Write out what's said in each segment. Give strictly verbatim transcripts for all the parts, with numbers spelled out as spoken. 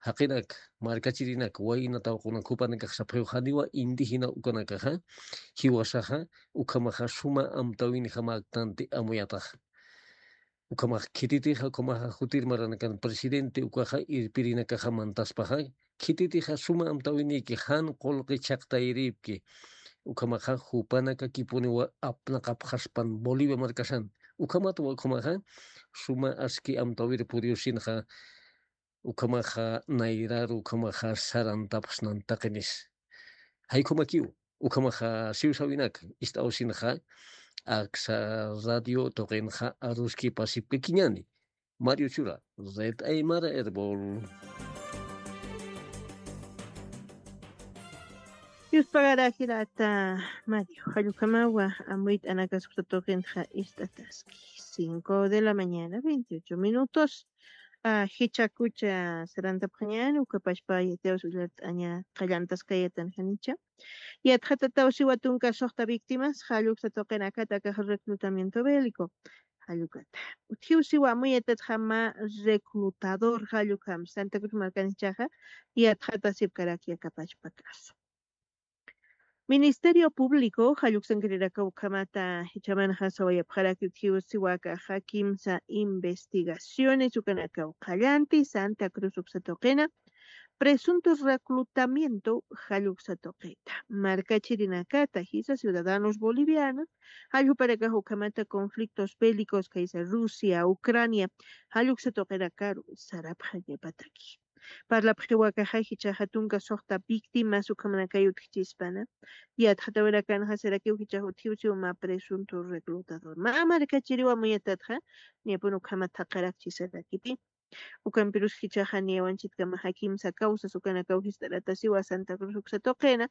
jaqinak, markachirinak, wayna tawqunak jupanakax sapxiw janiwa indígena ukanakaxa, jiwasaxa, ukhamaxa suma amtawinixamaktanti amuyataxa. Ukhamax khititixa, ukhamaxa jutir maranakan presidente ukaxa irpirinakaxa mantaspaxa, khititixa suma amtawiniki jan qullqi chhaqtayripki, ukhamaxa jupanakakipuniwa apnaqapxaspan Bolivia markasan. Ukhamatwa ukhamaxa suma aski amtawir puriwsinxa, ukhamaxa nayraru, ukhamaxa sarantapxsnan taqinis. Jaykhumakiw, ukhamaxa siwsawinak ist'awsinxa, aksa radio tuqinxa aruski pasipkakiñani. Mario Chura, Red Aymara Erbol. Yuspagarajirata Mario, jallukamawa amuyt'anakasukta tuqinxa ist'ataski. Cinco de la mañana, veintiocho minutos. Ah, jichakucha sarantapxañani, ukapashpa yatiyaws ullart'aña qallantaskayatan janicha. Yatxatataw siwa tunka suxta víctimas, jalluksa tuqinakata akax reclutamiento bélico. Jallukata. Utjiw siwa amuyatatxa mä reclutador jallukam Santa Cruz markanichaxa, yatxatasipkaraki akapashpa caso. Ministerio Público jalluksankiriraka ukhamata jichamanxa sawayapxaraki utjiw siwakaxa kimsa investigaciones ukanakaw qallanti Santa Cruz uksa tuqina, presuntos reclutamiento jalluksa tuqita. Markachirinakata jisa ciudadanos bolivianos, jalljuparakax ukhamata conflictos bélicos kaysa Rusia, Ucrania, jalluksa tuqirakaru sarapxañapataki. Parlapxiwakaxa jichaxa tunka suxta víctimas ukhamanakay utjchispana. Yatxatawirakanxa sarakiw jichax utjiw siw mä presunto reclutador. Mä markachiriw amuyatatxa, niyapun ukhama thaqarakchi sarakipi. Ukampirus jichaxa niyawanchitkamaxa kimsa causas ukanakaw jist'aratasiwa Santa Cruz uksa tuqina,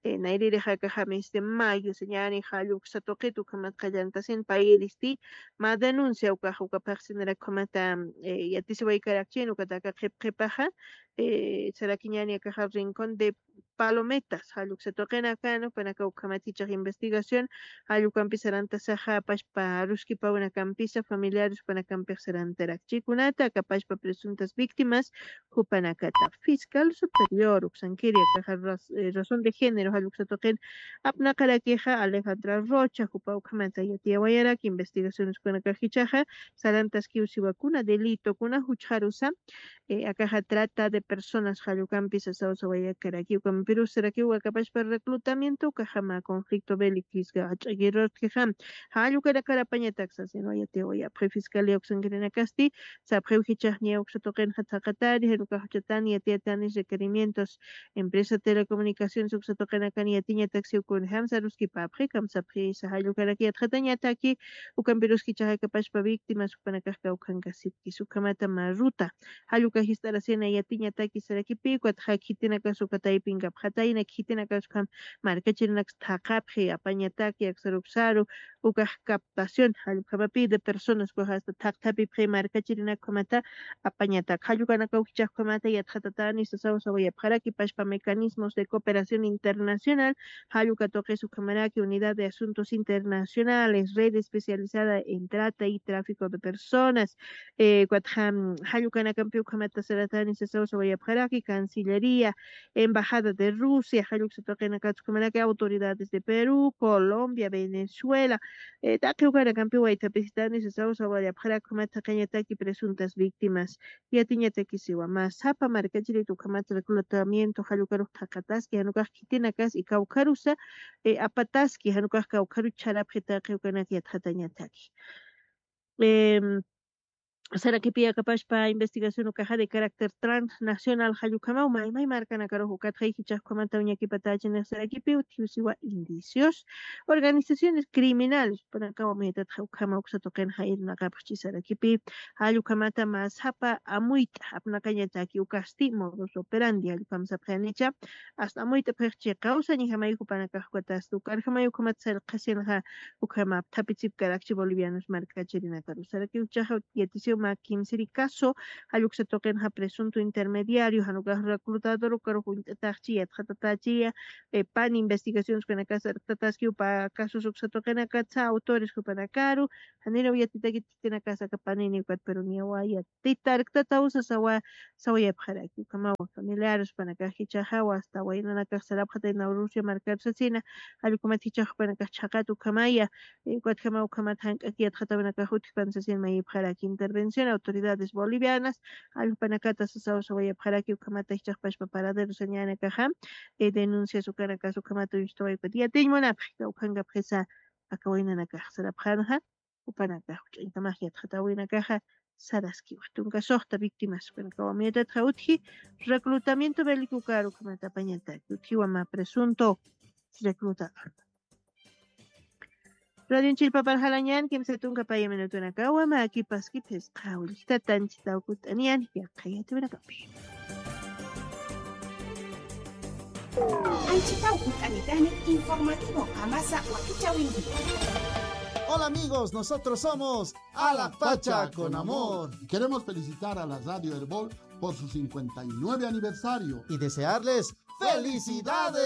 eh, nayririxa akaxam este mayo, señani jalluksa tuqit ukhamat qallantasin payiristi, mä denuncia ukax ukaphaxsinara ukhamata, eh, yatisiwaykarakchin ukataka qhip qhipaxa, eh, sarakiñani akaxa Rincón de Palometas, jalluksa tuqinakan, upanaka ukhamat jichax investigación, jallukampi sarantasaxa, apashpa aruskipawinakampisa, familiares upanakampix sarantarakchikunata, akapashpa presuntas víctimas, jupanakata. Fiscal Superior uksankiri akaxa raz-, eh, razón de género jalluksa tuqin apnaqarakixa Alejandra Rocha, jupa ukhamata yatiyawayarak investigaciones ukanakax jichaxa sarantaskiw siwa kuna delito, kuna juchxarusa, eh, akaxa trata de personas jallukampi sasaw sawayakaraki, ukampirus sarakiw akapashpa reclutamiento ukaxa mä conflicto bélico jach'akirurtkixa, jallukarakar apañatak sasin wayatiwayapxi. Fiscalía uksankirinakasti sapxiw jichax niya uksa tuqinxa thaqatari, jan ukax juchatan yatiyatani requerimientos empresa telecomunicaciones uksa tuqinakan yatiñatak siw kunjam saruskipapxi, kamsapxisa jallukarak yatxatañataki, ukampirus jichax akapashpa víctimas jupanakax kawkhankasipkis, ukhamata mä ruta, jalluka jist'arasina yatiñataki sarakipi, ukatxa khitinakas uka taypinkapxatayna, khitinakas ukham markachirinakas thaqapxi, apañataki aksaruksaru, ukax captación, jallukamapi de personas, ukax hasta thaqthapipxi markachirinak ukhamata, apañatak, jallukanakaw jichax ukhamata, yatxatatani sasaw sawayapxaraki, pashpa mecanismos de cooperación internacional, jalluka tuqis ukhamaraki, unidad de asuntos internacionales, red especializada en trata y tráfico de personas, eh, ukatxa, mm, jallukanakampi ukhamata saratani sasaw sawayapxaraki, Cancillería, Embajada de Rusia, jalluksa tuqinakats ukhamaraki, autoridades de Perú, Colombia, Venezuela, eh, taqi ukanakampi waythapisitani sasaw sawayapxaraki, ukhamat thaqañataki presuntas víctimas, yatiñataki siwa, mä sapa markachirit ukhamat reclutamiento jallukarux thaqataski, jan ukax khitinakas y kawkharusa, eh, apataski, jan ukax kawkharu chharapxi taqi ukanak yatxatañataki. Em, sarakipi akapashpa investigación ukaxa de carácter transnacional, jallukhamaw maymay markanakarux ukatxa jichax ukhamata uñakipatachinix sarakipi utjiw siwa indicios, organizaciones criminales, jupanakaw amuyatatxa ukhama uksa tuqinxa irnaqapxchi sarakipi, jallukhamata mä sapa amuyt'a apnaqañataki ukasti modus operandi, jallukham sapxanicha, hasta amuyt'apxix chiqawsañjamay jupanakax ukatasti, ukarjamay ukhamat sarqhasinxa, ukhama apthapitsipkarakchi bolivianos markachirinakaru. Sarakiw jichaxa yatisiw Mä kimsiri caso, jall uksa tuqinxa presunto intermediario, jan ukax reclutador ukarux uñt'ataxchi, yatxatatächiya, eh, pan investigaciones ukanakasa arktataskiw pä casos uksa tuqinakatsa, autores jupanakaru, janiraw yatitakit khitinakasa aka panini ukat, pero niyawa yatita arktataw sasawa, sawayapxaraki, ukhamawa familiares jupanakax jichhaxawa, hasta waynanakax sarapxataynaw Rusia markaru sasina, jall ukhamat jichhax jupanakax chhaqat ukhamaya, eh, ukatjamaw ukhamat jank'ak yatxatawinakax utjpan sasin mayipxaraki intervención autoridades bolivianas, jall jupanakata sasaw sawayapxaraki ukhamata jichhax pachpa paradero sañänakaxa, eh, denuncias ukanakas ukhamata uñstawaypat yatiñ munapxi, kawkhankapxisa aka waynanakax sarapxanxa, jupanakax juch'añkamax yatxatawinakaxa saraskiwa. Tunka suxta víctimas jupanakawa miyatatxa utji, reclutamiento bélico ukaru ukhamata apañataki, utjiwa mä presunto reclutador. Radio Chilpapar jalañan, kimsa tunka paya minutunakawa, mä kipaski phisqa willjtata anchitaw kut'aniyan, yaqha yatiwinakapi. Anchitaw kut'anitani informativo qamasa wakichäwinki. Hola amigos, nosotros somos Alapacha con amor. Y queremos felicitar a la Radio Erbol por su cincuenta y nueve aniversario. Y desearles felicidades.